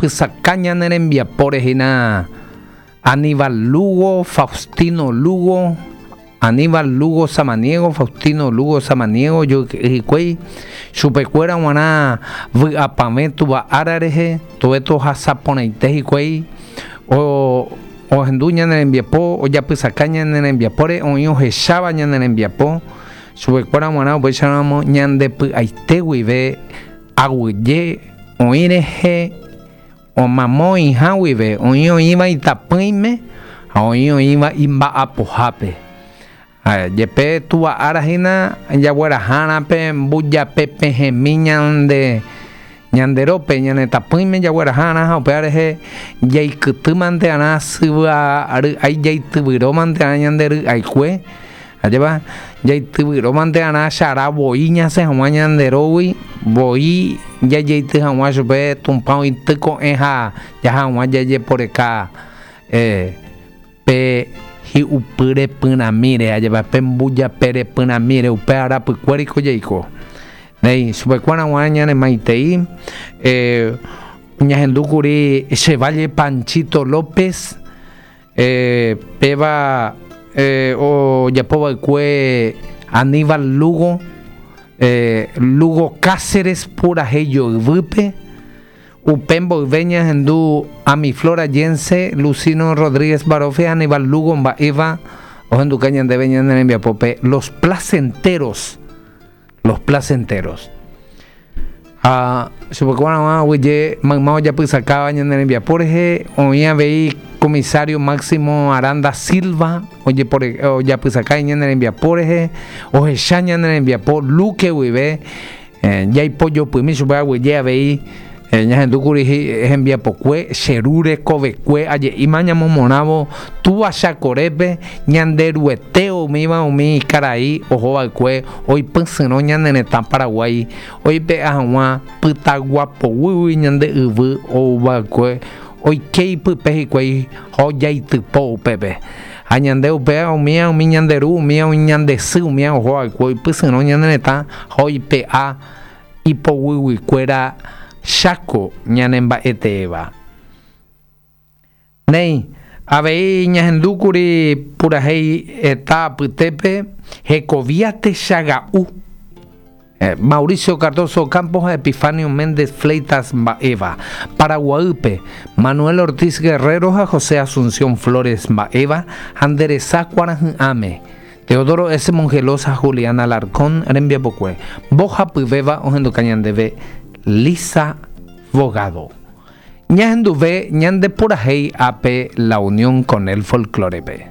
ojapysaka ñane rembiapóre hína Aníbal Lugo, Faustino Lugo, Aníbal Lugo Samaniego, Faustino Lugo Samaniego ojoyke'y hikuái, chupekuéra g̃uarã vy'apavẽ Túva Ára rehe, tove tohasa porãite hikuái, ohendu ñane rembiapo, ojapysaka ñane rembiapóre, oĩ ohecháva ñane rembiapo, chupekuéra g̃uarã upéicharamo ñande py'aite guive aguyje oĩ rehe Omamo oĩha guive, oĩ oĩva itapỹime ha oĩ oĩva imba'apohápe. Ha jepe Túva ára hína jaguerahárã pe mbujape pehẽmi ñande ñande rópe, ñane tapỹime jaguerahárã ha upéva rehe jaikyty mante arã syva ry'ái jaityvyro mante arã ñande ry'aikue. Ajépa jaityvyrómante arã chara voi ñasẽ hag̃ua ñande rógui, voi jajeity hag̃ua chupe Tupã oity ko'ẽ ha jaha hag̃ua jajeporeka pe hi'upy repyrãmíre, ajépa pe mbujape repyrãmíre, upe arapykuériko jaiko. Néi, chupekuéra g̃uarã ñanemaitei ñahendúkuri che valle Panchito López. Péva ojapo va'ekue Aníbal Lugo, Lugo Cáceres purahéi joyvýpe. Upe mboyve ñahendu Amiflora Yense, Lucino Rodríguez Barofia, Aníbal Lugo mba'éva ohenduka ñandéve ñane rembiapópe Los Placenteros. Los Placenteros. Ha chupekuéra aguyje mayma ojapysakáva ñane rembiapo rehe, oĩ avei comisario Máximo Aranda Silva ojapysaka ñane rembiapo rehe, ohecha ñane rembiapo Luque guive, jaipojopymi chupe aguyje avei Ñahendúkuri hembiapokue che ru rekovekue aje'íma ñamomorãvo Túva Chakorépe, Ñanderuete umíva umi karai ohova'ekue oipysyrõ ñane retã Paraguái oipe'a hag̃ua pytagua poguýgui ñande yvy ouva'ekue oike ipype hikuái ha ojaitypo upépe. Ha ñande upéva umíva umi ñande ru, umíva umi ñande sy, umíva ohova'ekue oipysyrõ ñane retã ha oipe'a ipoguyguikuéra Cháko ñanemba'eteéva. Néi, avei ñahendúkuri purahéi heta apytépe hekovia techaga'u, Mauricio Cardozo Campos ha Epifanio Méndez Fleitas mba'éva, Paraguaýpe, Manuel Ortiz Guerrero ha José Asunción Flores mba'éva ha nde resa kuarahy'ãme, Teodoro S. Mongelós ha Julián Alarcón rembiapokue, mbohapyvéva ohenduka ñandéve Lisa Bogado. Ñahenduve ñande purahéi ápe La Unión con el Folklore-pe.